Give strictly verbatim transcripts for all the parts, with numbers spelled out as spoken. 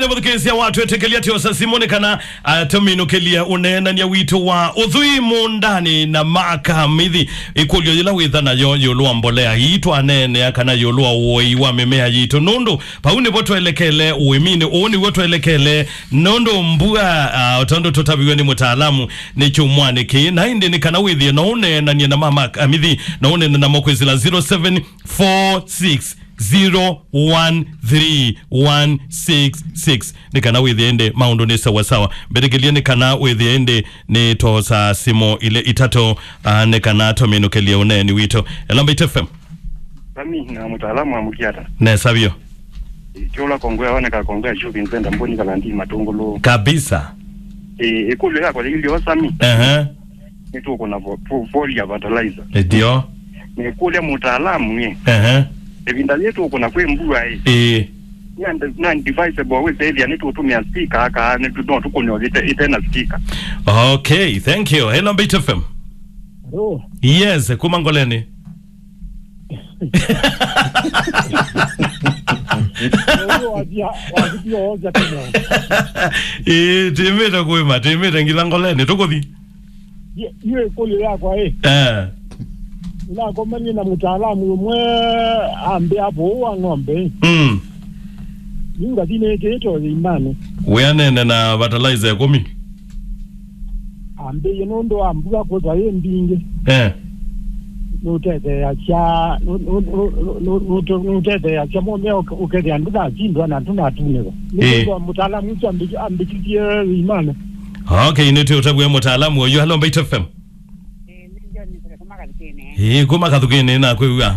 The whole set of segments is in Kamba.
Vathukĩĩsya watwĩtĩkĩlya tyosa simũ nĩ kana, ah, tũminũkĩlye ũneenany'a witũ wa ũthwii mũũndanĩ na Mark Mithi. Ĩkũlyo yĩla wĩtha nayo ĩũlũ wa mbolea ii twaneenea kana ĩũlũ wa ũoi wa mĩmea yitũ, nũndũ vau nĩvo twelekele ũĩminĩ, ũũ nĩw'o twelekele, nũndũ mbua, ah, o tondũ tũtaviw'e nĩ mũtaalamu, nĩ kyumwanĩ kĩĩ. Na ĩndĩ nĩ kana wĩthĩe no ũneenany'e na ma Mark Mithi, no ũneene namo kwĩsĩla zero seven four six zero one three one six six. Nĩ kana wĩthĩe ĩndĩ maũndũ nĩ sawa sawa. Mbĩtĩkĩlye nĩ kana wĩthĩe ĩndĩ nĩ twosa simũ ilĩ itatũ, ah, nĩ kana tũminũkĩlye ũneeni witũ. Hello, Mbaitu F M. Sami, na mũtaalamu wa mũkiata. Nesa vyũ. Ĩ, kĩũla kongwe aoneka kongwe ya shopping center, Mboni Kalandi, Matũngũlũ. Kabisa. Ĩ, ĩkũlyo yakwa yĩilyo, Sami. Ehe. Nĩtũkũna vo-, vo-, volia fertilizer. Ndio. Nĩkũlya mũtaalamu ĩ. Ehe. Ĩvinda yĩĩ tũkũna kwĩ mbua ĩ. Ĩĩ. Nĩ and-, nĩ advisable wĩsethĩa nĩtũtũmĩa sticker aka nĩtũ-, no tũkũne ĩte-, ĩte na sticker. Okay, thank you. Hello, Mbaitu F M. Hello. Yes, kuma Ngoleni. Ũyũ wambia, wambia woza tena. Ĩĩ, tĩmĩte kwĩma, tĩmĩte ngila Ngoleni, tũkũthi. Ye-, yu ĩkũlyo yakwa ĩ. Eh. Nĩnakomanie na mũtaalamu ũmwe ambĩa vũũ wa ng'ombe. Mm. Yu ngathi nĩkĩĩte ũthĩimbanĩ. Wĩanene na fertilizer ĩkũmi. Ambĩie nũndũ wa mbua kwĩthwa yĩ mbingĩ. Eh. Nũtetheeasya, nũ-, nũ-, nũ-, nũ-, nũte-, nũtetheeasya mũmea ũke-, ũkethĩa ndũnasindwa na ndũnatunĩwa. Ĩĩ. Nĩkwĩthwa mũtaalamu ũsu ambĩ-, ambĩkĩthie thĩimbanĩ. Okay, nĩtwĩũtavw'a mũtaalamu ũyũ. Hello, Mbaitu F M. Ĩĩ, nĩ John Msele kuma Kathukĩnĩ. Ĩĩ, kuma Kathukĩnĩ, nakwĩw'a.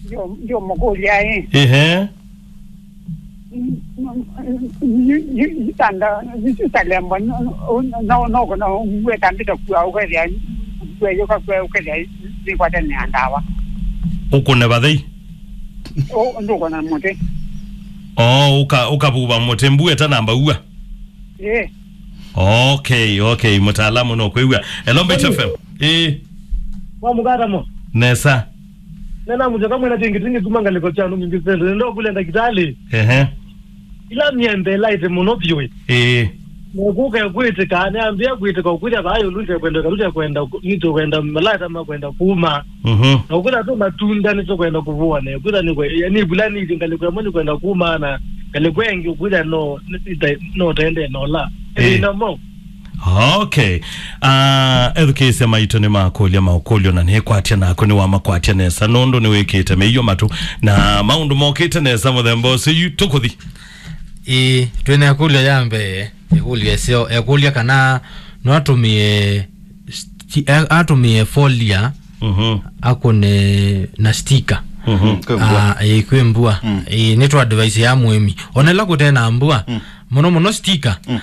Ndio, ndio mũkũlya, ĩ. Ehe. Itanda, italembwa, no, no, no, no, ngwetambĩte kua, ũkethĩa, ngweyũka kua, ũkethĩa, nĩkwatene na ndawa. Ũkũne vathei? Ũ, ndũkũna mũtĩ. Oo, ũka-, ũkavuva mũtĩ, mbua ĩtanamba ua? Ĩĩ. Okay, okay, mũtaalamu no kwĩw'a. Hello, Mbaitu F M. Ĩĩ. Wa mũkata mo? Nesa. Nena mũtaka mwena tingi tingi kuma ngalĩko cha nungi ngi sende. Nenda kule ndakitali. Ehe. Ila myembe ĩla ĩte mũno vyũ ĩ. Ĩĩ. Nekuka kwĩtĩka, nĩambia kwĩtĩka ũkwĩthya vaa yũlũ nĩtekwenda, nĩtekwenda, nĩtekwenda malata makwenda kuma. Mhm. Na ũkwĩthya tu matunda nĩtũkwenda kũvũa, na ũkwĩthya nĩkwe-, yani, ivula nĩthi ngalĩko ĩmwe nĩkwenda kuma, na ngalĩko ĩngĩ ũkwĩthya no, nĩ-, ĩta-, no tende nola. Ĩĩ. Ĩthĩna mo. Okay. Ah, ethukĩĩsya maitũ nĩmakũlya maũkũlyo na nĩkwatya naku nĩwamakwatya nesa nũndũ nĩwĩkĩte mĩio matũ na maũndũ mokĩte nesa mũthemba ũsu. Yu tũkũthi. Ĩĩ, twĩ na ĩkũlyo ya mbee, ĩkũlyo ĩseo, ekũlya kana no atũmĩe sti-, a-, atũmĩe folia, mhm, akũne na sticker. Mhm. Kwĩ mbua. Ah, ĩĩ, kwĩ mbua. Mm. Ĩĩ, nĩ twa advice ya mũĩmi. Ona ĩla kũte na mbua, mm, mũno mũno sticker. Mm.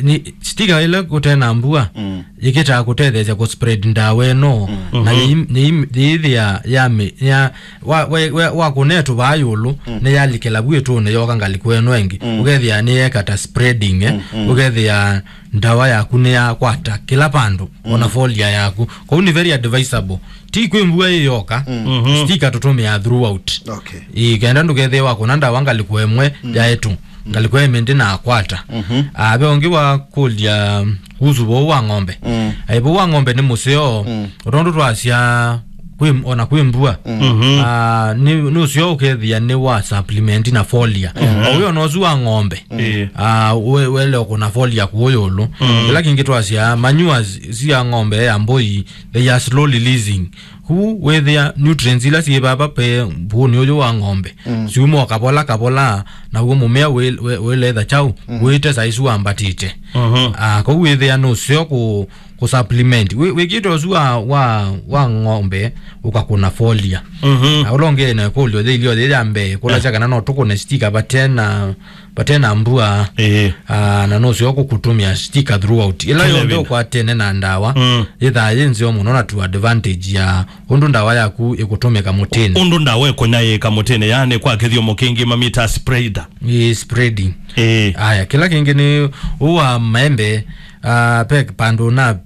Nĩ sticker ĩla kũte na mbua, mm, yĩkĩtaa kũtetheesya kũ spread ndawa ĩno, mm, na, mhm, yĩ-, yĩ-, yĩthĩa ya mĩ-, ya, wa, wa, wa, wa kũnetũ vaa yũlũ, mm, nĩyalikĩla vu ĩtũnĩ yoka ngalĩko ĩno ĩngĩ. Mm. Ũkethĩa nĩyeka ta spreading, eh? Mm, mm. Ũkethĩa ndawa yaku nĩyakwata kĩla vandũ, ona, mm, folia yaku. Kwoou nĩ very advisable. Ti kwĩ mbua ĩyoka, mm, mhm, sticker tũtũmĩaa throughout. Okay. Ĩĩ, kenda ndũkethĩe wakũna ndawa ngalĩko ĩmwe, mm, ya ĩtũ. Ngalĩko ĩmwe ndĩnakwata. Mhm. Ah, ve ũngĩ wakũlya kuhusu vou wa ng'ombe. Mm. Ai, vou wa ng'ombe nĩ mũseo, mm, o tondũ twasya kwĩ, ona kwĩ mbua. Mm. Mhm. Ah, nĩ, nĩ ũseo ũkethĩa nĩ wa supplement na folia. Mm. O wĩ ona ũsu wa ng'ombe. Mm. Ĩĩ. Ah, we-, wele ũkũna folia kũũ yũlũ. Mm. Kĩla kĩngĩ twasya, manure s-, sia ng'ombe ya mbũi, they are slow releasing. Kwoou wĩthĩa nutrients ila syĩ vava ve vuunĩ ũyũ wa ng'ombe, mm, syuma o kavola kavola, naw'o mũmea wĩ-, wĩ-, wĩletha kyaũ, mm, wĩte saa isu wambatĩte. Mhm. Ah, kwoou wĩthĩa nũseo kũ-, kũ supplement. Wĩ-, wĩkĩte ũsu wa, wa, wa ng'ombe, ũkakũna folia. Mhm. Na ũla ũngĩ na ĩkũlyo yĩilyo yĩ ya mbee, kũlasya, eh, kana no tũkũne sticker vate na vate na mbua, ĩĩ, ah, na nũseo kũkũtũmĩa sticker throughout. Ĩla yonthe ũkwatene na ndawa, mm, yĩthaa yĩ nzeo mũno na to advantage ya ũndũ ndawa yaku ĩkũtũmĩka mũtĩnĩ. Ũndũ ndawa ĩkũnyaĩĩka mũtĩnĩ, yaani kwa kĩthyomo kĩngĩ mamĩtaa spreader. Ĩĩ, spreading. Ĩĩ. Aya, kĩla kĩngĩ nĩ ũũ wa maembe, ah, ve vandũ na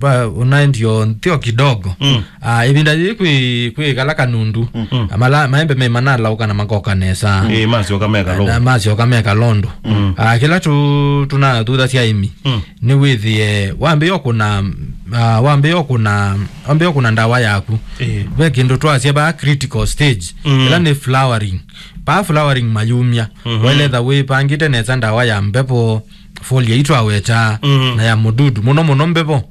Ba, unaendio nthio kidogo. Mm. Ah, ivinda yii kwi, kwi kala kanundu. Mm. Amala, maembe me manalauka na makoka nesa. Eh, masyoka meka londo. Na masyoka meka londo. Mm. Ah, kila tu, tunathutha sya imi. Mm. Nĩ wĩthĩe, wambĩĩa ũkũna, ah, wambĩĩa ũkũna, wambĩĩa ũkũna ndawa yaku. Eh. Ve kĩndũ twasya ba critical stage. Mm. Ĩla nĩ flowering. Pa flowering mayumya. Mhm. Waĩle etha wĩpangĩte nesa ndawa ya mbevo, foliar ii twaweta, mhm, na ya mũdudu. Mũno mũno mbevo.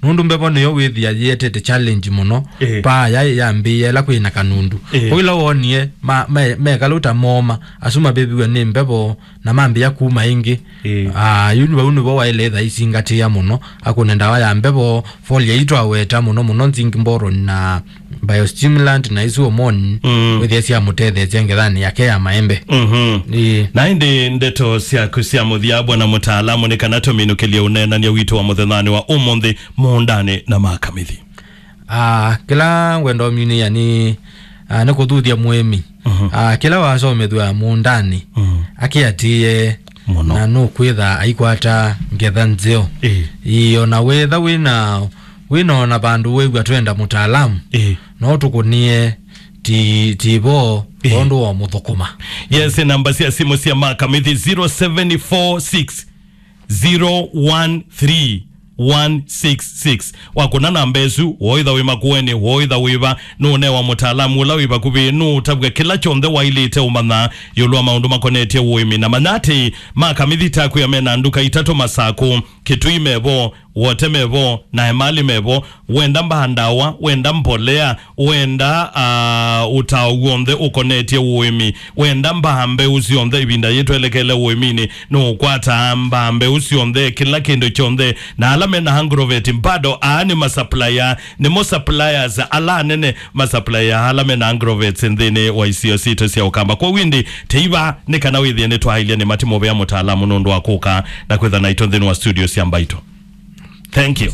Nũndũ mbevo nĩyo wĩthĩa yĩetete challenge mũno. Ĩĩ. Paa ya yambĩĩa ĩla kwĩ na kanundu. Ĩĩ. Kwoou ĩla wonie ma, me, mekaluta moma, asu maviviwe nĩ mbevo na mambĩĩa kuma ĩngĩ. Ĩĩ. Ah, yu vau nĩvo waĩle etha isingatĩa mũno, akũne ndawa ya mbevo, foliar ii twaweta mũno mũno, zinc boron na biostimulant na isu hormone, mm, wĩthĩa syamũtetheesya ngethanĩ yake ya maembe. Mhm. Ĩĩ. Na ĩndĩ ndeto syaku sya mũthya, bwana mũtaalamu, nĩ kana tũminũkĩlye ũneenany'a witũ wa mũthenyanĩ wa ũmũnthĩ mũũndanĩ na makamithi? Ah, kĩla ngwenda ũminĩĩa nĩ, ah, nĩ kũthuthya mũĩmi. Mhm. Ah, kĩla wasomethw'a mũũndanĩ, mhm, akĩatĩĩe mũno, na nũkwĩtha aikwata ngetha nzeo. Ĩĩ. Ĩĩ, ona wetha wĩna, wĩna ona vandũ wĩw'a twenda mũtaalamu, ĩĩ, no tũkũnie ti, ti vo, ĩĩ, kwondũ wa mũthũkũma. Yes, namba sya simũ sya makamithi zero seven four six zero one three one six six. Wakũna namba ĩsu, woĩtha wĩ makũenĩ, woĩtha wĩva, nũũnewa mũtaalamu ũla wĩ vakuvĩ, nũũtavw'a kĩla kyonthe waĩlĩte ũmanya ĩũlũ wa maũndũ makonetye ũĩmi. Na manya atĩ makamithi takwĩa mena nduka itatũ Masakũ, Kitui mevo, Wote mevo, na Emali mevo. Wenda mbaa ndawa, wenda mbolea, wenda, ah, ũtao w'onthe ũkonetye ũĩmi, wenda mbaa mbeũ syonthe, ĩvinda yĩĩ twelekele ũĩminĩ, nũũkwataa mbaa mbeũ syonthe, kĩla kĩndũ kyonthe. Na ala mena agrovet bado, aa nĩ masupplier, nĩmo suppliers ala anene, masupplier ala mena agrovets nthĩnĩ wa isio sitũ sya Ũkamba. Kwoou ĩndĩ, teiva nĩ kana wĩthĩe nĩtwaĩlya nĩ matimũvea mũtaalamu nũndũ wa kũka na kwĩtha naitũ nthĩnĩ wa studio sya Mbaitũ. Thank you.